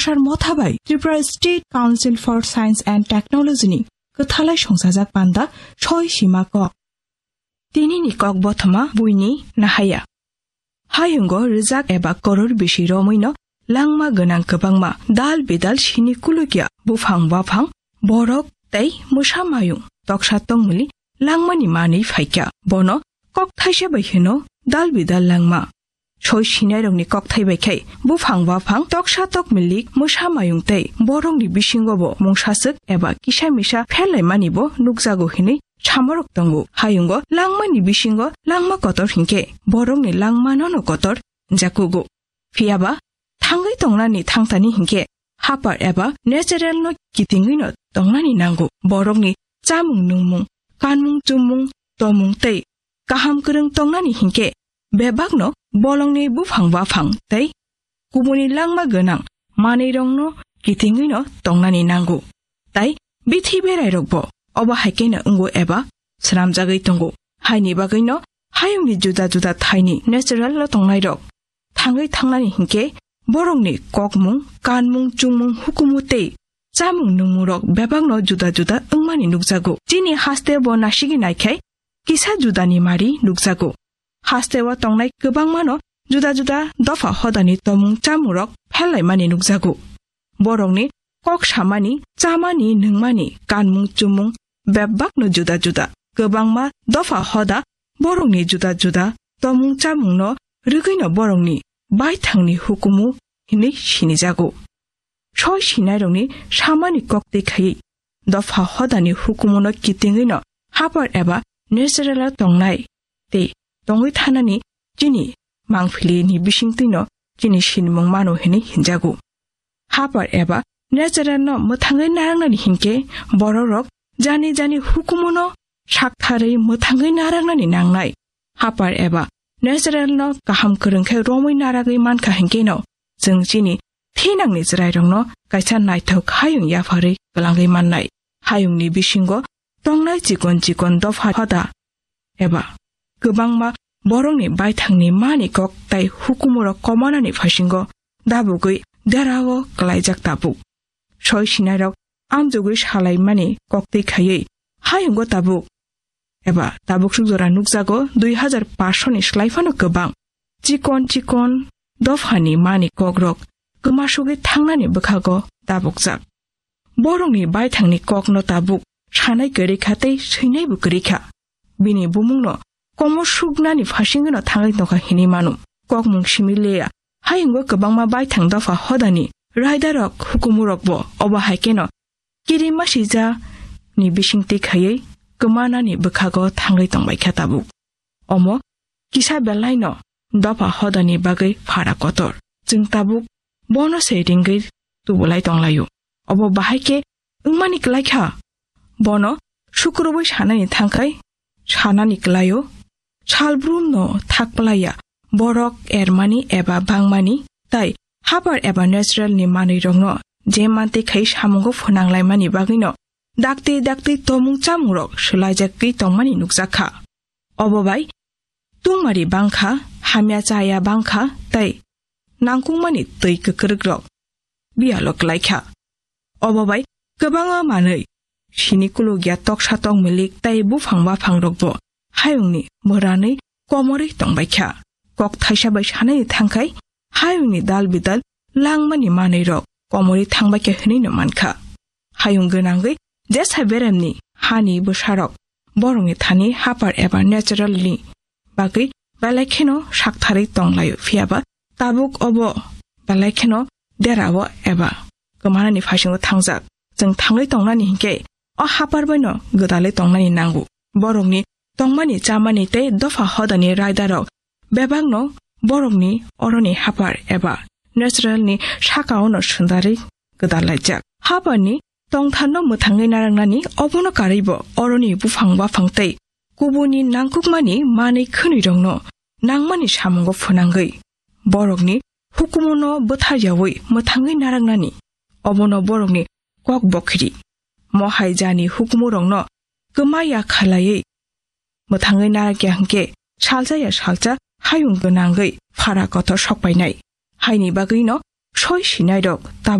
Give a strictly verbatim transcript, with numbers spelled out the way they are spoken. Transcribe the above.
Sar motha bai Tripura State Council for Science and Technology ni kwthalai songchajak panda soi sima kok. Tini ni kok bothoma buini nahaya. Hayungo rijak eba koror bisi romwi no langma gwnang kwbangma dal bidal sini kulukya buphang baphang borok tei mwsa mayung toksa tongmili langmani manwi phaikya. Bono kok thaisa bai hino dal bidal langma. Soi sinairokni kokthai bai khai buphang baphang toksa tokmilik mwsa mayung tei borokni bisingo bo mungsaswk eba kisa misa pherlaimani bo nukjago hinwi samorok tongo. Hayungo langmani bisingo langma kotor hinkhe borokni langmano no kotor jakugo. Phiyaba thangwi tongnani thangtani hinkhe hapar eba natural no kitingwi no tongnani nango. Borokni chamung nungmung, kanmung chummung, tomung tei kaham kwrwng tongnani hinkhe bebakno bolongni buphang baphang tei kubuni langma gwnang manwirokno kitingwino tongnani nango. Tai bithi berairokbo obo hai kheno wngo eba swnamjagwi tongo. Haini bagwino hayungni juda juda thaini natural-o tongnairok thangwi thangnani hinkhe borokni kokmung, kanmung, chumung, hukumu tei chamung nungmungrok bebakno juda juda wngmani nukjago. Chini haste bo nasigwi naikhai kisa judani mari nukjago. Hasteo tongnai kwbangmano juda juda dopha hodani tomung chamungrok pherlaimani nukjago. Borokni kok samani, chamani, nungmani, kanmung chumung bebakno juda juda. Kwbangma dopha hoda borokni juda juda tomung chamungno rwgwino borokni baithangni hukumu hinwi sinijago. Soi sinairokni samani koktwi khaiwi dopha hodani hukumuno kitingwino hapar eba natural-o tongnai tei tongwi thanani chini mangpilini bisingtwino chini sinimung mano hinwi hinjago. Hapar eba natural-no mwthangwi narwknani hinkhe bororok jani jani hukumuno saktharwi mwthangwi narwknani nangnai. Hapar eba natural-no kaham kwrwng khe romwi narwgwi mankha hinkheno chwng chini thinangni chwrairokno kaisa naithok hayung yapharwi kwlangwi mannai. Hayungni bisingo tongnai chikon chikon dopha hoda eba kwbangma borokni baithangni mani kok tai hukumurok komanani phasingo dabugwi derao kwlaijak tabuk. Soi sinairok amjogwi salaimani koktwi khaiwi hayungo tabuk eba tabuk suk jora nukjago dui hazar paanch sho ni slai phano kwbang. Chikon chikon dophani mani kokrok kwmasugwi thangnani bwkhago tabukjak. Borokni baithangni kokno tabuk sanai kwrwi kha tei swinaibo kwrwi kha. Bini bumungno komo suknani phasingwino thangwi tongkha hinwi mano. Kokmung simi leya hayungo kwbangma baithang dopha hodani raidarok hukumurokbo obo hai kheno kirima sija ni bisingtwi khaiwi kwmanani bwkhago thangwi tongbaikha tabuk. Omo kisa belaino dopha hodani bagwi phara kotor. Chwng tabuk bono se ringwi tubulai tonglaio. Obo bahai khe wngmani kwlaikha. Bono sukrubwi sanani thangkhai sanani kwlaio. Salbrumno thak plaiya borok ermani eba bangmani tai hapar eba natural ni manwirokno je mantwi khai samungo phwnanglaimani bagwino dakti dakti tomung chamungrok swlaijagwi tongmani nukjakha. Obo bai tungmari bangkha, hamya chaya bangkha tei nangkukmani twi kwkrwkrok biyalo kwlaikha. Obo bai kwbangma manwi sini kulukya toksa tokmilik tei buphang baphangrokbo hayungni mwranwi komorwi tongbaikha. Kok thaisa bai sanani thangkhai hayungni dal bidal langmani manwirok komorwi thangbaikha hinwino mankha. Hayung gwnangwi jesa beremni hani bwsarok borokni thani hapar eba natural ni bagwi belai kheno saktharwi tonglaio, phiyaba tabuk obo belai kheno derao eba kwmanani phasingo thangjak. Chwng thangwi tongnani hinkhe o hapar baino gwdalwi tongnani nango. Borokni tongmani chamani tei dopha hodani raidarok bebakno borokni oroni hapar eba natural ni sakaono swndarwi gwdal laijak. Habarni tongtharno mwthangwi narwknani obono karwibo oroni buphang baphang tei kubuni nangkukmani manwi khwnwirokno nangmani samungo phwnangwi borokni hukumuno bwtharyawi mwthangwi narwknani obono borokni kok bokhiri. Mohai jani hukumurokno kwmaya khalaiwi mwthangwi narwkya hinkhe salsa ya salsa hayung gwnangwi phara kotor sokpainai. Haini bagwino soi sinairok tabuk